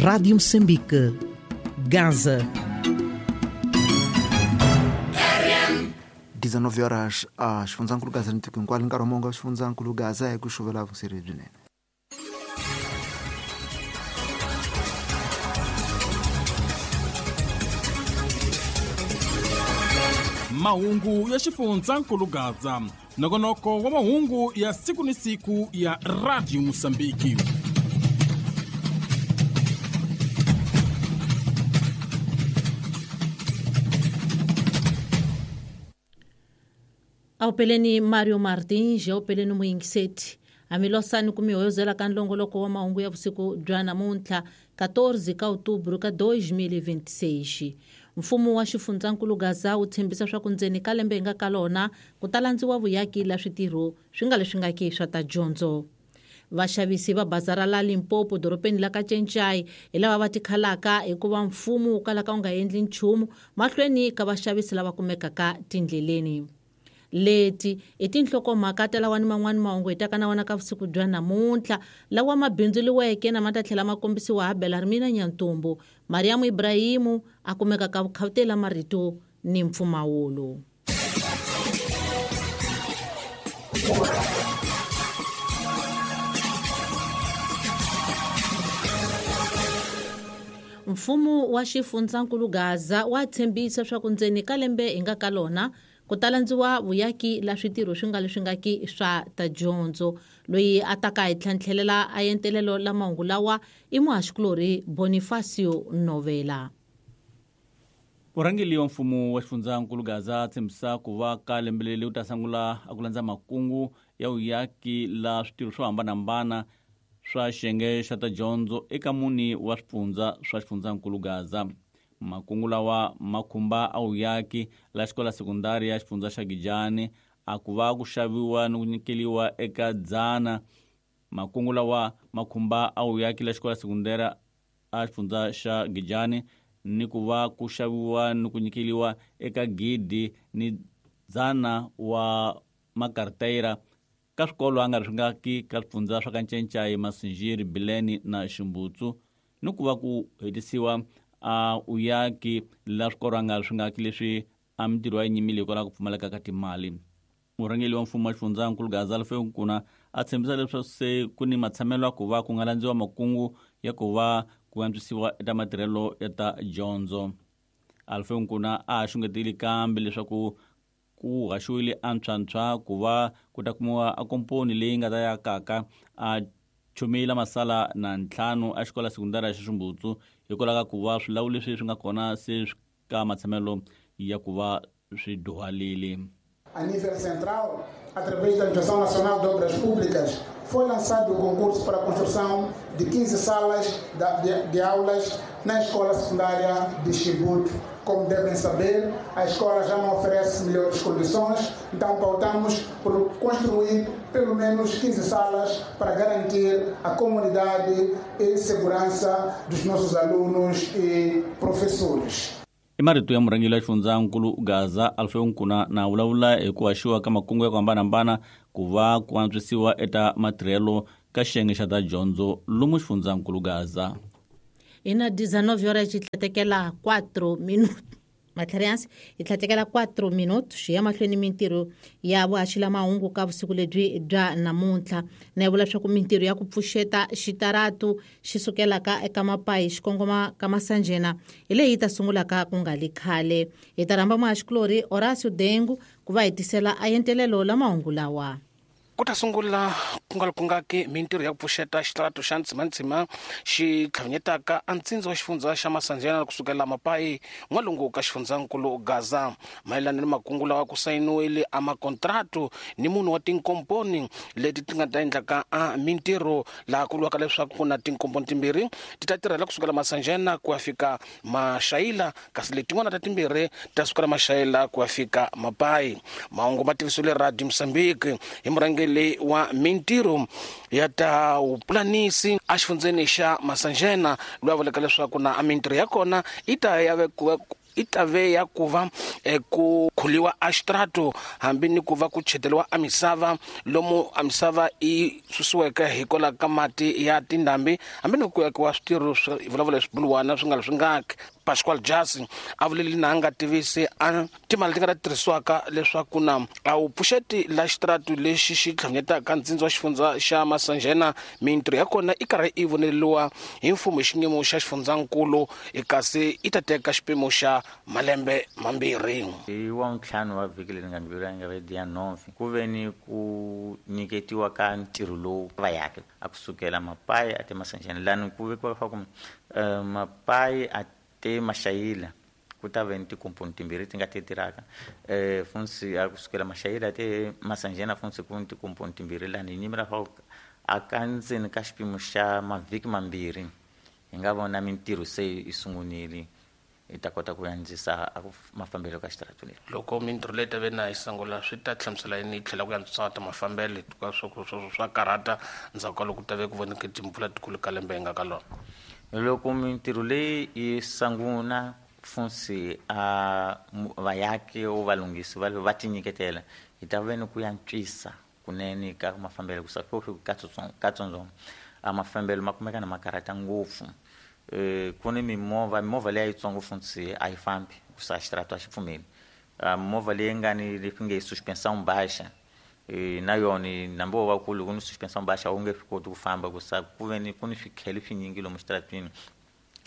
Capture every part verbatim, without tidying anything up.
Rádio Moçambique, Gaza. dezenove horas a xifundzankulu Gaza ni tiko hinkwalo nkarhi wa mongo wa xifundzankulu Gaza hi ku xuvela vuseri byinene. Mahungu ya xifundzankulu Gaza, nongonoko wa mahungu ya siku ni siku ya Radio Moçambique. Awupeleni Mario Martins, awupeleni muyingiseti. Amilosani kumihoyozela ka nlongoloko wa mahungu ya vusiku bya namuntlha quatorze ka outubro ka dois mil e vinte e seis. Mfumo wa xifundzankulu Gaza wu tshembisa swa ku ndzeni ka lembe hi nga ka lona ku ta landziwa vuyaki la switirho swi nga leswi nga ki swa ta dyondzo. Vaxavisi va bazara la Limpopo dorobeni la Kachenchay hi lava va tikhalaka hikuva mfumo wu kalaka wu nga endli nchumu mahlweni ka vaxavisi lava kumekaka tindleleni. Leti i tinhlokomhaka ta lawa ni man'wani mahungu hi taka na wona ka vusiku bya namuntlha lawa ma bindzuriweke na ma ta tlhela ma kombisiwa ha Belarmina Nyantumbu. Mariamu Ibrahimu a kumeka ka vukhawutela marito ni mpfumawulo. Mfumo wa xifundzankulu Gaza wa tshembisa swa ku ndzeni ka lembe hi nga ka lona ku ta landziwa vuyaki la switirho swi nga leswi nga ki swa ta dyondzo. Loyi a taka hi tlhantlhelela a entelelo la mahungu lawa i muhaxikulorhi Bonifacio Novela. Murhangeri wa mfumo wa xifundzankulu Gaza tshembisa ku va ka lembe leri wu ta sungula a ku landza makungu ya vuyaki la switirho swo hambanahambana swa xiyenge xa ta dyondzo eka mune wa swifundza swa xifundzankulu Gaza. Makungu lawa ma khumba a vuyaki la xikola sekundari ya xifundza xa Gijani a ku va ku xaviwa ni ku nyikeliwa eka dzana. Makungu lawa ma khumba a vuyaki la xikola sekundari a xifundza xa Gijani ni ku va ku xaviwa ni ku nyikeliwa eka gidi ni dzana wa makarteyira ka swikolo a nga ri swi nga ki ka swifundza swa Kanchenchai, Masinjiri, Bileni na Ximbutsu, ni ku va ku hetisiwa a uyaki la swikolo a nga ri swi nga ki leswi a mintirho ya nyimile hikwalaho ku pfumaleka ka timali. Murhangeri wa mfumo wa xifundzankulu Gaza Alfeo Nkuna a tshembisa leswaku se ku ni matshamelo ya ku va ku nga landziwa makungu ya ku va ku antswisiwa eka matirhelo ya ta dyondzo. Alfeo Nkuna a xungetile kambe leswaku ku haxiwile antshwantshwa ku va ku ta kumiwa a komponi leyi nga ta yakaka a chumile masala na ntlhanu a xikola sekundari xa Ximbutsu hikwalaho ka ku va swilawu leswi swi nga kona se swi ka matshamelo ya ku va swi dyuhalile. A nível central, através da Administração Nacional de Obras Públicas, foi lançado o concurso para a construção de quinze salas de, de aulas na escola secundária de Chibuto. Como devem saber, a escola já não oferece melhores condições, então pautamos por construir pelo menos quinze salas para garantir a comunidade e segurança dos nossos alunos e professores. I marito ya murhangeri wa xifundzankulu Gaza Alfeo Nkuna na vulavula hi ku haxiwa ka makungu ya ku hambanahambana ku va ku antswisiwa eka matirhelo ka xiyenge xa ta dyondzo lomu xifundzankulu Gaza. Hi na dezenove horas hi tlhatekela quatro minutos. Matlhariansi hi tlhatekela quatro minutos xi ya mahlweni mintirho ya vuhaxi la mahungu ka vusiku lebyi bya namuntlha. Na yi vula leswaku mintirho ya ku pfuxeta xitaratu xi sukelaka eka Mapayi xi kongoma ka Masanjena hi leyi yi ta sungulaka ku nga li khale. Hi ta rhamba muhaxikulorhi Horacio Dengu ku va hi tisela a entelelo la mahungu lawa. Ku ta sungula ku nga ku nga ki mintirho ya ku pfuxeta xitaratu xa Ntsimantsima xi tlhavinyetaka a ntsindza wa xifundza xa Masanjena kusukela Mapayi n'walungu ka xifundzankulu Gaza. Mayelana ni makungu lawa ku sayiniwile a makontratu ni munhu wa tinkomponi leti ti nga ta endlaka a mintirho laha ku vuriwaka leswaku ku na tinkomponi timbirhi ti ta tirhela kusukela Masanjena ku ya fika Maxayila, kasi letin'wana ta timbirhi ta sukela Maxayila ku ya fika Mapayi. Mahungu ma tivisiwile Radio Moçambique hi murhangeri le wa mintirho ya ta vupulanisi a xifundzeni xa Masanjena loyi a vulaka leswaku na a mintirho ya kona yi ta ya vekiwa i ta ve ya ku va ku khuliwa a xitrato hambi ni ku va ku cheteriwa a misava lomu a misava yi susiweke hikwalaho ka mati ya tindhambi hambi ni ku akiwa switirho swa vulavula swibuluwana swi nga swi ngaki. Pascual Jasi a vuleli na nga tivisi a timali ti nga ta tirhisiwaka leswaku na a wu pfuxeti la xitrato lexi xi tlhanyetaka ntsindza wa xifundza xa Masanjena mintirho ya kona i karhi i voneriwa hi mfumo hi xiyimo xa xifundzankulu kasi i ta teka xipimo xa malembe mambirhi. Hi wa ntlhanu wa vhiki leri nga ndlula nga ve dia nove ku ve ni ku nyiketiwa ka ntirho lowu va yake a kusukela Mapayi a te Masanjena lani ku vekiwa leswaku Mapayi a te Mashayila ku ta ve ni tikomponi timbirhi ti nga ti tirhaka eh funsi a kusukela Mashayila te Masanjena funsi ku ni tikomponi timbirhi lani hi nyimela fa a ka ndzeni ka xipimo xa mavhiki mambirhi hi nga vona mintirho se yi sungunile hi ta kota ku andzisa mafambelo ka xitrato lexi. Loko mintirho leyi ta ve na yi sungula swi ta hlamusela yini yi tlhela ku antswisa ta mafambelo hikuva swo swo swa karhata ndzhaku ka loko ku ta ve ku voneke timpfula tikulu ka lembe hi nga ka lona. Loko mintirho leyi yi sungula funsi a vayaki o valunghisi va va tinyiketela hi ta ve ni ku antswisa kunene ka mafambelo ku sa ka katsongo a mafambelo ma kumeka na makarata ngopfu. Eh ku ni mimovha mimovha leyi yitsongo funsi a yi fambi ku sa xitrato a xi pfumeli. Movha leyi nga ni leswi nge suspension baixa na yona nambi wo va kulu ku ni suspension baixa wu nge swi koti ku famba ku sa ku ve ni ku ni swikhele swinyingi lomu xitratwini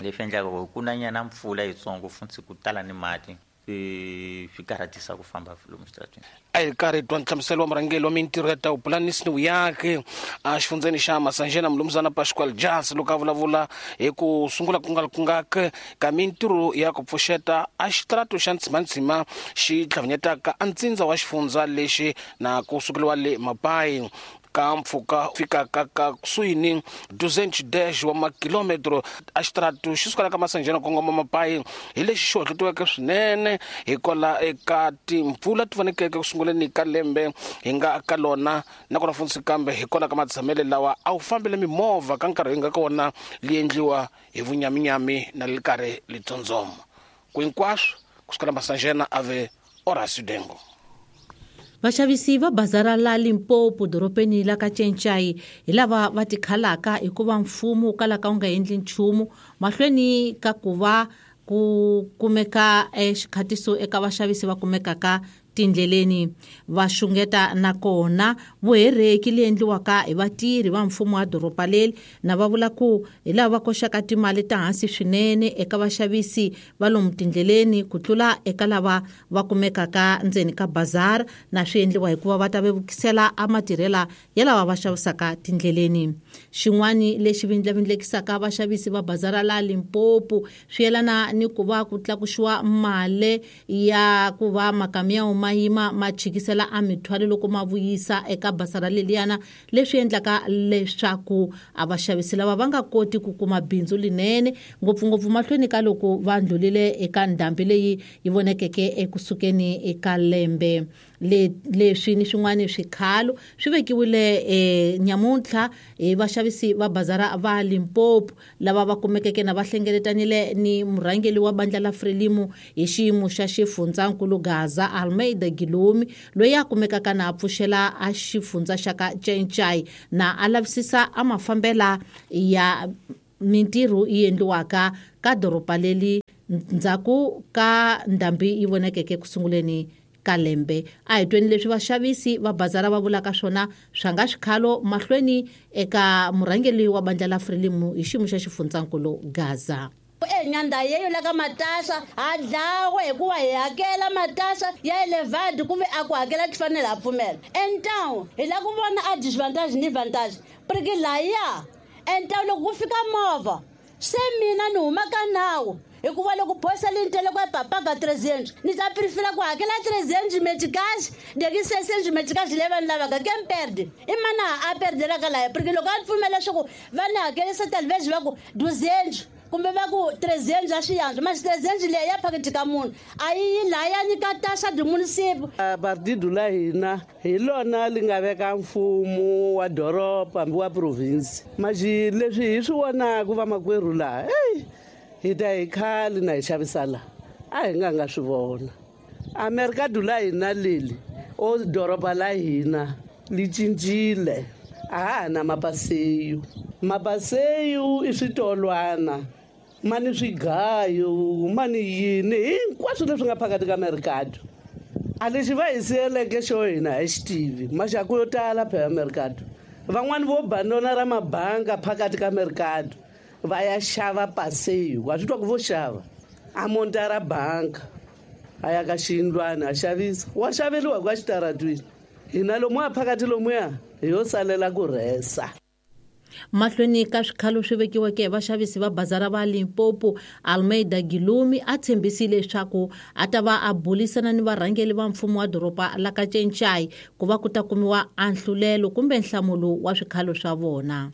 leswi endlaka ku ku na nyana mpfula yitsongo funtsi ku tala ni mati swi karhatisa ku famba lomu xitratwini. A hi karhi twa nhlamuselo wa murhangeri wa mintirho ya ta vupulanisi ni vuyaki a xifundzeni xa Masanjena Mulumuzana Pascual Jasi loko a vulavula hi ku sungula ku nga ku nga ka mintirho ya ku pfuxeta a xitrato xa Ntsimantsima xi tlhavanyetaka a ntsindza wa xifundza lexi na ku sukeliwa le Mapayi ka mpfhuka fikaka ka kusuhi ni duzentos dez wa makilometro a xitrato xi sukela ka Masanjena kongoma Mapayi hi lexi xi hohlotiweke swinene hikwalaho eka timpfula ti vonekeke ku sunguleni ka lembe hi nga ka lona nakona funtsi kambe hikwalaho ka matshamele lawa a wu fambele mimovha ka nkarhi hi nga ka wona li endliwa hi vunyaminyami na li karhi litsondzoma ku hinkwaswo kusukela Masanjena a ve Horacio Dengo. Vaxavisi va bazara la Limpopo doropeni la ka Tshentshai hi lava va tikhalaka hikuva mfumo wu kalaka wu nga endli nchumu mahlweni ka ku va ku kumeka xikhatiso eka vaxavisi va kumekaka tindleleni. Va xungeta nakona vuhereki leyi endliwaka hi vatirhi va mfumo wa doroba leri na va vula ku hi lava va koxaka timali ta hansi swinene eka vaxavisi va lomu tindleleni ku tlula eka lava va kumekaka ndzeni ka bazar na swi endliwa hikuva va ta vevukisela a matirhela ya lava va xavisaka tindleleni. Xin'wani lexi vindlavindlekisaka vaxavisi va bazara la Limpopo swi yelana ni ku va ku tlakuxiwa mali ya ku va makamiya ma yima ma chikisela a mithwalo loko ma vuyisa eka basara leliyana leswi endlaka leswaku a vaxavisi lava va nga koti ku kuma bindzu linene ngopfungopfu mahlweni ka loko va ndlulile eka ndhambi leyi yi vonekeke ekusukeni eka lembe. Leswi ni swin'wana swikhalo swi vekiwile e nyamuntlha hi vaxavisi va bazara va Limpopo lava va kumekeke na va hlengeletanile ni murhangeri wa bandla la Frelimo hi xiyimo xa xifundzankulu Gaza Almeida Gilumi loyi a kumekaka na a pfuxela a xifundza xa ka Tshentshai na a lavisisa a mafambela ya mintirho yi endliwaka ka doroba leri ndzhaku ka ndhambi yi vonekeke ku sunguleni ka lembe. A hi tweni leswi vaxavisi va bazara va vulaka swona swa nga xikhalo mahlweni eka murhangeri wa bandla la Frelimo hi xiyimo xa xifundzankulu Gaza. Enyanda yeyo la ka matasa a dlawe hikuva hi hakela matasa ya elevadi kumbe a ku hakela ti fanele a pfumela. Então hi la ku vona a disadvantage ni vantage porque laya então loko ku fika movha se mina ni huma ka nawu hikuva loko phosa lintele ku papaga trezentos ni ta prefira ku hakela trezentos meticais de seiscentos meticais leyi va ni lavaka ke mi perde i mana a perdelaka laya porque loko a pfumela leswaku va ni hakelisa talvez va ku duzentos kumbe va ku trezentos a swi yantswa mas trezentos leyi ya phaketi ka munhu a yi yi laya nyika taxa de municipio. Partido la hina hi lona li nga veka mfumo wa doroba hambi wa province maxi leswi hi swi vonaka vamakwerhu laha eyi hi ta hi khale na hi xavisa laha a hi nga nga swi vona A mercado la hina leli o doroba la hina li cincile a ha na mapaseyo mapaseyo i switolwana ma ni swigayo ma ni yini hinkwaswo leswi nga phakathi ka mercado a lexi va hi siyeleke xo hina hi xi tivi maxaku yo tala phela mercado van'wani vo bandona ra mabanga phakathi ka mercado va ya xava paseyo wa swi twa ku vo xava a monta ra banka a ya ka xiyindlwana a xavisa wa xaveriwa kwa xitaratwini hina lomuya phakathi lomuya hi yo salela ku rhesa. Mahlweni ka swikhalo swi vekiweke hi vaxavisi va bazara va Limpopo, Almeida Gilumi a tshembisile leswaku a ta va a bulisana ni varhangeli va mfumo wa doroba la ka Cencai ku va ku ta kumiwa anhlulelo kumbe nhlamulo wa swikhalo swa vona.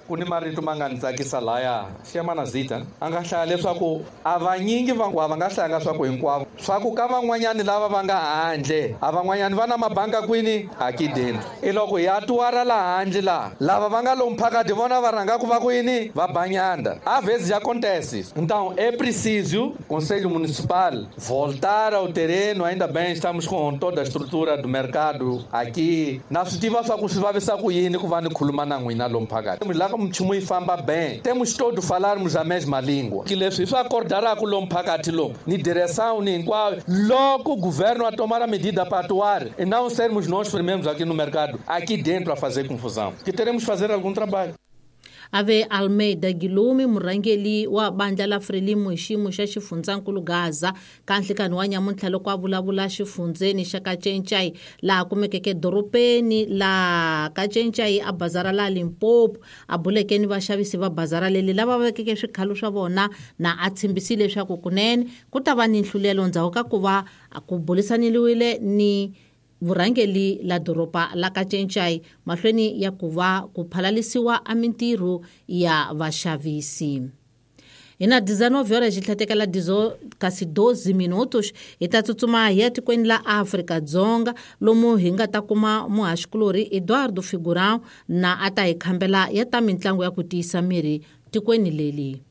Ku ni marito ma nga ni tsakisa laya xiyamana zita a nga hlaya leswaku a vanyingi va va nga hlayanga swa ku hinkwavo swa ku ka van'wanyani lava va nga handle a van'wanyani va na mabanga kwini akideni i loko ya tuwara la handle la lava va nga lomu phakathi vona va rhangaku va ku yini va banyanda a vezes acontece. Então é preciso Conselho Municipal voltar ao terreno. Ainda bem estamos com toda a estrutura do mercado aqui na swi tiva swa ku swi vavisa ku yini ku va ni khuluma na n'wina lomu phakathi lá como nchumu yi famba bem temos todos falarmos a mesma língua que leswi swi acordará ku lomu phakathi lomu ni direção ni hinkwayo loko o governo a tomar a medida para atuar e não sermos nós primeiros aqui no mercado aqui dentro a fazer confusão que teremos fazer algum trabalho. Ave Almeida Gilumi murhangeli wa bandla la Frelimo hi xiyimo xa xifundzankulu Gaza ka nhlikani wa nyamuntlha loko a vulavula xifundzeni xa Kacencai laha kumekeke doropeni la Kacencai a bazara la Limpopo a buleke ni vaxavisi va bazara leli lava vekeke swikhalo swa vona na a tshembisile leswaku kunene ku ta va ni nhlulelo ndzhaku ka ku va ku bulisaniliwile ni vurhangeli la doroba la Kacencai mahlweni ya ku va ku phalalisiwa a mintirho ya vaxavisi. Hi na dezenove horas xi tlhatekela dizo kasi doze minutos hi ta tsutsuma hi ya tikweni la Afrika-Dzonga lomu hi nga ta kuma muhaxikulorhi Eduardo Figurão na a ta hi khambela ya ta mintlangu ya ku tiyisa miri tikweni leli.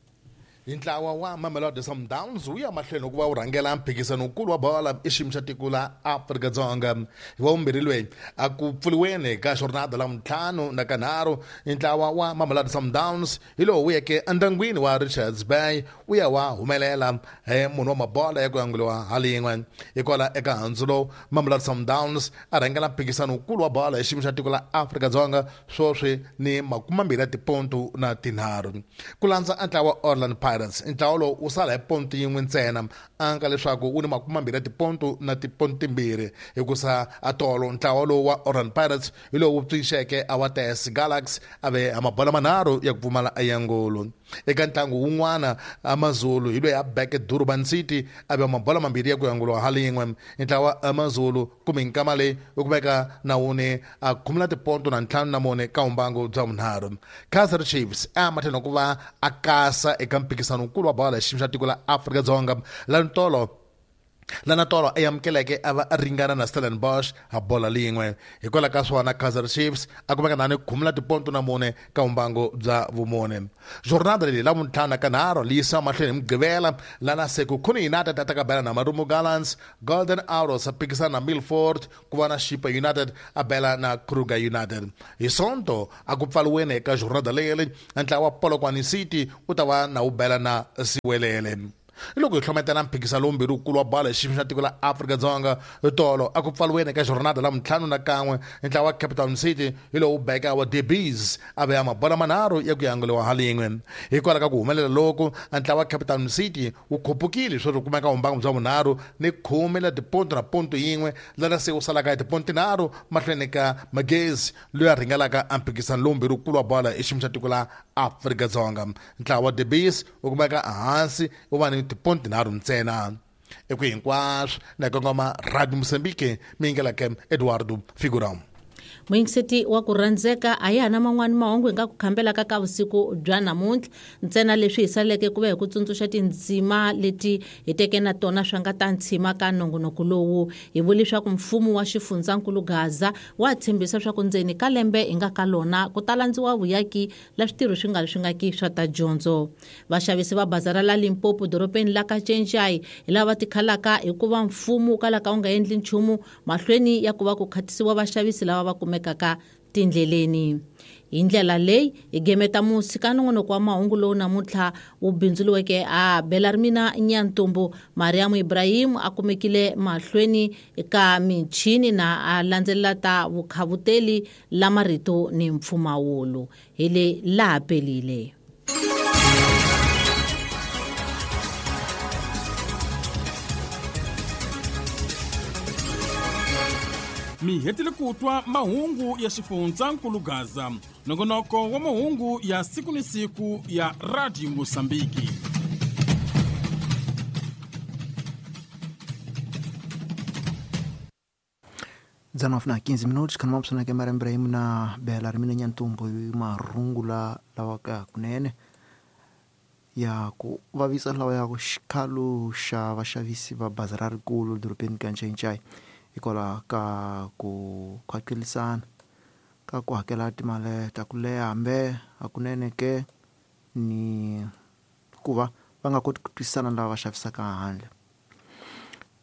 Ntlawa wa Mamelodi Sundowns wu ya mahlweni ku va wu rhangela mphikizano-nkulu wa bolo i xiyimo xa tiko la Afrika-Dzonga hi wa vumbirhi loyi a ku pfuriweni ka jornada la ntlhanu na kanharhu ntlawa wa Mamelodi Sundowns hi lowu wu yeke endyangwini wa Richards Bay wu ya wa humelela hi munhu wa mabola ya ku yanguliwa halin'we hikwala eka handzu lowu Mamelodi Sundowns a rhangela mphikizano-nkulu wa bolo hi xiyimo xa tiko la Afrika-Dzonga swoswi ni makumambirhi ya tipontu na tinharhu ku landza ntlawa Orlando Pirates. Ntlawa lowu wu sala hi ponto yin'we ntsena anga leswaku wu ni makumambirhi ya tiponto na tiponto timbirhi hikusa atolo ntlawa lowu wa Orlando Pirates hi lowu wu pfixeke a wa T S Galaxy a ve a mabola manharhu ya ku pfumala ayangolo eka ntlangu wun'wana AmaZulu hi loyi a beke Durban City a ve mabola mambirhi ya ku yanguliwa halin'we ntlawa AmaZulu kumbe nkama leyi wu kumeka na wuni a khumula tiponto na ntlhanu na mune ka vumbangu bya vunharhu. Kaizer Chiefs a matlhelo ku va a kasa eka mphikizano-nkulu wa bolo hi xiyimo xa tiko la Afrika-Dzonga la ntolo lana tolo a amukeleke a va a ringana na Stellenbosch a bola lin'we hikwalaho ka swona Kaizer Chiefs a kumeka na ni khumula tiponto na mune ka vumbangu bya vumune. Jornada leyi la vuntlhanu na kanharhu li yisiwa mahlweni hi Mugqivela lana Sekhukhune United a ta ka bela na Marumo Gallants, Golden Arrows a phikisana na Milford ku va na Chippa United a bela na Kruger United. Hi Sonto a ku pfaliweni eka jornada leyi ntlawa wa Polokwane City wu ta va na wu bela na Siwelele. Loko hi hlometela mphikizano lowumbirhi wukulu wa bolo hi xiyimo xa tiko la Afrika-Dzonga tolo a ku pfaliweni eka jornada la ntlhanu na kan'we ntlawa wa Cape Town City hi lowu beka wa Debies a veya mabola manharhu ya ku yanguliwa halin'we hikwalaho ka ku humelela loku ntlawa wa Cape Town City wu khupukile sweswi kumeka vumbangu bya vunharhu ni khume la tiponto na ponto yin'we lana se wu salaka hi tiponto tinharhu mahlweni ka Magezi loyi a rhangelaka a mphikizano lowumbirhi wukulu wa bolo hi xiyimo xa tiko la Afrika-Dzonga. Ntlawa wa Debies wu kumeka ehansi wu va ni tiponto tinharhu ntsena. Eku hinkwaswo na kongoma Radio Mozambique mi yingelaka Eduardo Figurão. Muyingiseti wa ku rhandzeka a ya na man'wani mahungu hi nga ku khambelaka ka vusiku bya namuntlha ntsena leswi hi saleke ku va hi ku tsundzuxa tindzima leti hi teke na tona swa nga ta ntshima ka nongonoko lowu. Hi vule leswaku mfumo wa xifundzankulu Gaza wa tshembisa swa ku ndzeni ka lembe hi nga ka lona ku ta landziwa vuyaki la switirho swi nga ri swi nga ki swa ta dyondzo. Vaxavisi va bazara la Limpopo dorobeni la ka Tšentšai hi lava tikhalaka hikuva mfumo wu kalaka wu nga endli nchumu mahlweni ya ku va ku khatisiwa vaxavisi lava va kumekaka tindleleni. Hi ndlela leyi hi gemeta musi ka nongonoko wa mahungu lowu namuntlha wu bindzuriweke a Belarmina Nyantombo. Mariam Ibrahim a kumekile mahlweni ka michini na a landzelela ta vukhavuteli la marito ni mpfumawulo. Hi le laha pelile. Mi hetile ku twa mahungu ya xifundzankulu Gaza, nongonoko wa mahungu ya siku ni siku ya Radio Mosambiki. dezenove na quinze minutos kana mapsana ke Mariam Ibrahim na Belarmina Nyantombo marungula lawa ka kunene ya ku vavisa lawa ya ku xikalo xa vaxavisi va bazara rikulu dorobeni ka Tšentšai hikwalaho ka ku khwakelisana ka ku hakela timali ta ku leha hambe hakunene ke ni ku va va nga koti ku twisisana lava va xavisaka handle.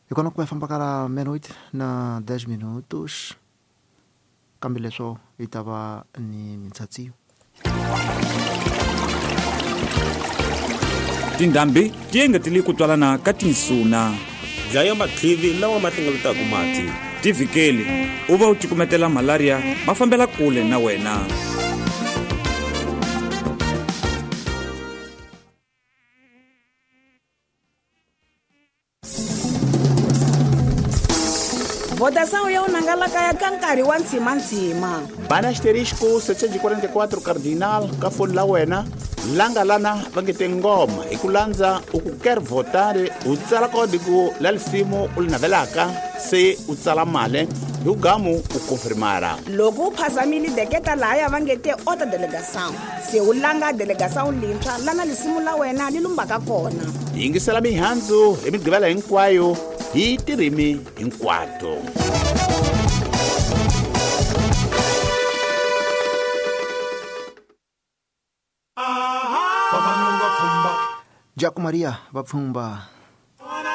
Hi kona ku va famba ka la meia-noite na dez minutos kambe leswo hi ta va ni mintsatsiyo. Tindhambi ti engetele ku twalana ka tinsuna. Dlaya matlivi lawa ma hlengeletaka mati. Tivikeli u va u cukumetela malaria ma fambela kule na wena. Votação ya unangalaka ya ka nkarhi wa ntsimantsima. Bana asterisco setecentos e quarenta e quatro cardinal ka foni la wena langa lana va nge te ngoma hi ku landza u ku quer votar u tsala código la lisimu u li navelaka se u tsala mali hi ku gamu u confirmara. Loko u phazamile deketa lahaya va nge te outra delegação se u langa delegação lintshwa lana lisimu la wena li lumbaka kona. Yingisela mihandzu hi migqivela hinkwayo hi tirimi hinkwato. Jaco Maria va pfumba.